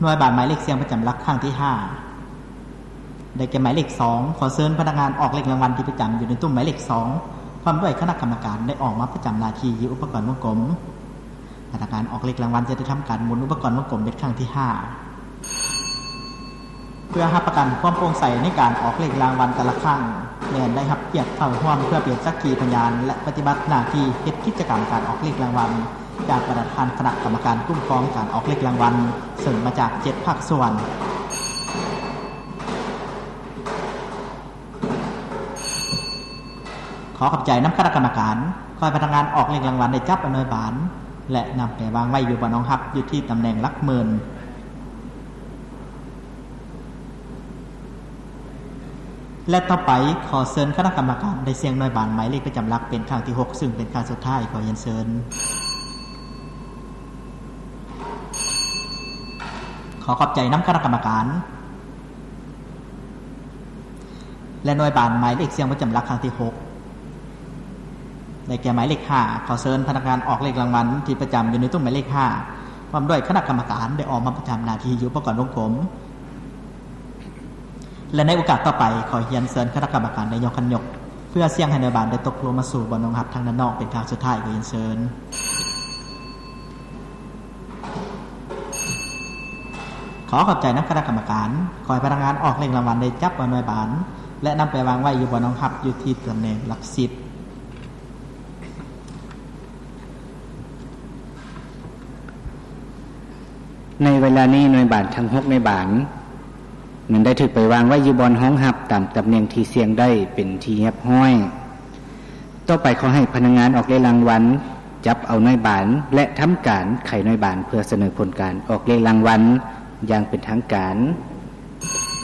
ໜ່ວຍບານໝາຍເລກສ່ຽງປະຈຳຫຼັກຄັ້ງທີຫ້າ ໄດ້ແກ່ໝາຍເລກສອງ. ຂໍເຊີນພະນັກງານອອກເລກລາງວັນທີ່ປະຈຳຢູ່ໃນຕຸ້ມໝາຍເລກສອງ ພ້ອມດ້ວຍຄະນະກຳມະການ ໄດ້ອອກມາປະຈຳໜ້າທີ່ຢູ່ອຸປະກອນວົງກົມ. ພະນັກງານອອກເລກລາງວັນຈະໄດ້ທຳການໝູນອຸປະກອນວົງກົມເປັນຄັ້ງທີຫ້າ ເພື່ອຮັບປະກັນຄວາມໂປ່ງໃສໃນການອອກເລກລາງວັນແຕ່ລະຄັ້ງ ແລະ ໄດ້ຮັບກຽດເຂົ້າຮ່ວມເພື່ອເປັນສັກຂີພະຍານ ແລະ ປະຕິບັດໜ້າທີ່ເຮັດກິດຈະກຳການອອກເລກລາງວັນ ຈາກປະທານຄະນະກຳມະການຄຸ້ມຄອງການອອກເລກລາງວັນ ເຊິ່ງມາຈາກເຈັດພາກສ່ວນ. ຂໍຂອບໃຈນຳຄະນະກຳມະການ. ຂໍໃຫ້ພະນັກງານອອກເລກລາງວັນໄດ້ຈັບເອົາໜ່ວຍບານ ແລະ ນຳໄປວາງໄວ້ຢູ່ບ່ອນຮອງຮັບຢູ່ທີ່ຕຳແໜ່ງຫຼັກໝື່ນ. ແລະ ຕໍ່ໄປ ຂໍເຊີນຄະນະກຳມະການໄດ້ສ່ຽງໜ່ວຍບານໝາຍເລກປະຈຳຫຼັກເປັນຄັ້ງທີຫົກ ຊຶ່ງເປັນຄັ້ງສຸດທ້າຍ. ຂໍຮຽນເຊີນ. ຂໍຂອບໃຈນຳຄະນະກຳມະການ. ແລະ ໜ່ວຍບານໝາຍເລກສ່ຽງປະຈຳຫຼັກຄັ້ງທີຫົກ ໄດ້ແກ່ໝາຍເລກຫ້າ. ຂໍເຊີນພະນັກງານອອກເລກລາງວັນທີ່ປະຈຳຢູ່ໃນຕຸ້ມໝາຍເລກຫ້າ ພ້ອມດ້ວຍຄະນະກຳມະການ ໄດ້ອອກມາປະຈຳໜ້າທີ່ຢູ່ອຸປະກອນວົງກົມ. ແລະ ໃນໂອກາດຕໍ່ໄປ ຂໍຮຽນເຊີນຄະນະກຳມະການໄດ້ຍົກຂັນຍົກ ເພື່ອສ່ຽງໃຫ້ໜ່ວຍບານໄດ້ຕົກລົງມາສູ່ບ່ອນຮອງຮັບທາງດ້ານນອກເປັນຄັ້ງສຸດທ້າຍ. ຂໍຮຽນເຊີນ. ຂໍຂອບໃຈນຳຄະນະກຳມະການ. ຂໍໃຫ້ພະນັກງານອອກເລກລາງວັນໄດ້ຈັບເອົາໜ່ວຍບານ ແລະ ນຳໄປວາງໄວ້ຢູ່ບ່ອນຮອງຮັບຢູ່ທີ່ຕຳແໜ່ງຫຼັກສິບ. ໃນເວລານີ້ໜ່ວຍບານທັງຫົກໜ່ວຍບານ ນັ້ນໄດ້ຖືກໄປວາງໄວ້ຢູ່ບ່ອນຮອງຮັບຕາມຕຳແໜ່ງທີ່ສ່ຽງໄດ້ເປັນທີ່ຮຽບຮ້ອຍ. ຕໍ່ໄປຂໍໃຫ້ພະນັກງານອອກເລກລາງວັນຈັບເອົາໜ່ວຍບານ ແລະ ທຳການໄຂໜ່ວຍບານເພື່ອສະເໜີຜົນການອອກເລກລາງວັນຢ່າງເປັນທາງການ.